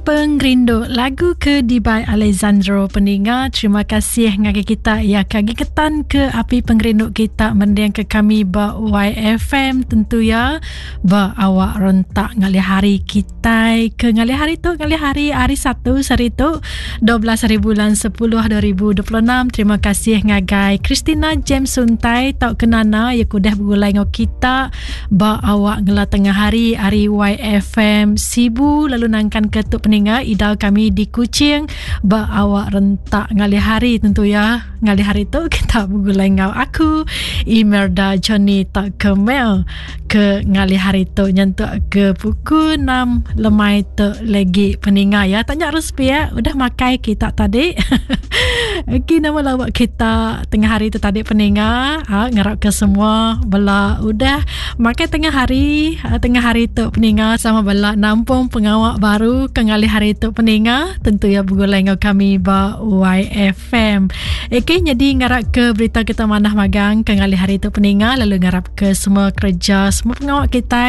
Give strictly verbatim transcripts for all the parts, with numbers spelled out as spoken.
Pengerindu lagu ke dibai Alexandro peninga. Terima kasih ngagai kita ya kagi ketan ke api pengerindu kita mending ke kami ba Y F M tentu ya ba awak rentak ngalih hari kita ke ngalih hari tu ngalih hari hari Satu hari tu dua belas hari bulan sepuluh dua ribu dua puluh enam. Terima kasih ngagai Christina James Suntai tau kenana ya kudah bergulai ngau kita ba awak ngela tengah hari hari Y F M Sibu lalu nangkan ke tu peninga idal kami di Kuching ba awak rentak ngalih hari tentu ya ngalih hari tu kita bergulai ngau aku Imelda Johnny tak kemel ke ngalih hari tu nyentuk ke pukul enam lemai tu lagi peninga ya. Tanya respi ya udah makai kita tadi. Okey, nama lawak kita tengah hari tu tadi peninga. Ha, ngarap ke semua bela udah makai tengah hari, ha, tengah hari tu peninga sama bela nampung pengawak baru ke ngalih hari tu peninga tentu ya bergulai ngau kami ba Y F M. Okey, jadi ngarap ke berita kita manah magang ke ngalih hari tu peninga lalu ngarap ke semua kerja semua pengawak kita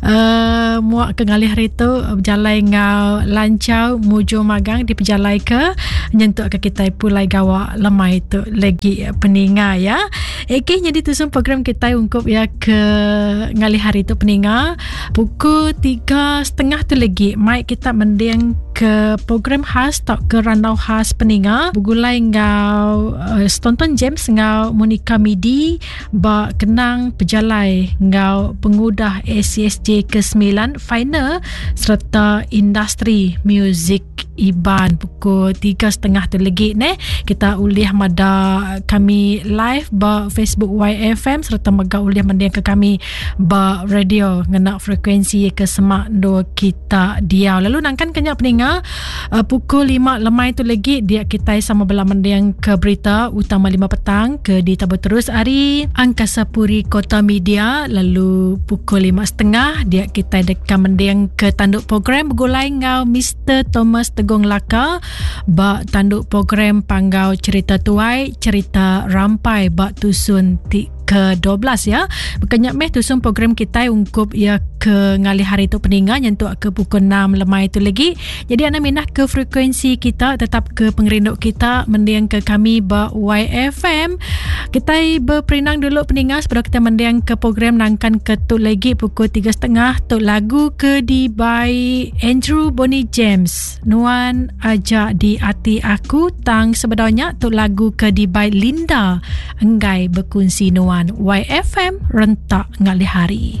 uh, muak ke ngalih hari tu berjalai ngau lancar muju magang di pejalai ke nyentuk ke kita pulai gawak lemai tu lagi peninga ya. Okey, jadi tu semua program kita ungkup ya ke ngalih hari tu peninga pukul tiga setengah tu lagi mic kita mending ke program khas tak ke randau khas peninga bergulai ngau uh, Tonton James ngau Monica Midi ba kenang pejalai ngau pengudah A C S J ke sembilan final serta industri muzik Iban pukul tiga setengah tu lagi ne kita ulih mada kami live ba Facebook Y F M serta mega ulih mending ke kami ba radio ngena frekuensi ke semak dua kita diau lalu nangkan kenyak peninga uh, pukul lima lemai tu lagi dia kita sama bela mending ke berita utama lima petang ke di tabur terus hari Angkasa Puri Kota Media lalu pukul lima setengah dia kita dekat mending ke tanduk program bergulai ngau Mister Thomas Tegong Laka ba tanduk program Panggau Cerita Tuai Cerita Rampai ba Tusun ti ke dua belas ya. Bukannya meh tusun program kita ungkup ya ke ngalih hari tu peninga nyentuk ke pukul enam lemai tu lagi. Jadi anda minah ke frekuensi kita tetap ke pengerindu kita mending ke kami ba Y F M. Kita berperinang dulu peninga sebelum kita mending ke program nangkan ke tu lagi pukul tiga setengah tu lagu ke di by Andrew Bonnie James. Nuan ajak di hati aku tang sebenarnya tu lagu ke di by Linda Enggai Berkunsi Nuan. Y F M rentak ngalih hari.